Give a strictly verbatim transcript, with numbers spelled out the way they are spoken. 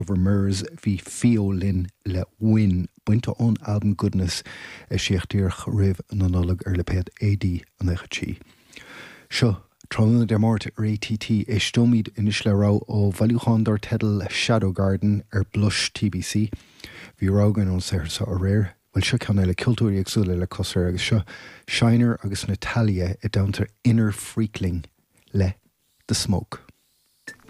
Over Mirrors bhí Fio linn le Win bainte ón albam Goodness a eisíodh díreach roimh na Nollag ar lipéad AD nócha trí. Seo tráthnóna Dé Máirt ar ATT éisteoimid anois le rogha ó bhailiúchán dar teideal Shadow Garden ar Blush TBC. Bhí rogha againn ón saothar seo aréir, Well seo ceann eile ceoltóirí éagsúla le clos air agus seo Shiner agus Natalia i dteannta Inner Freakling le The Smoke.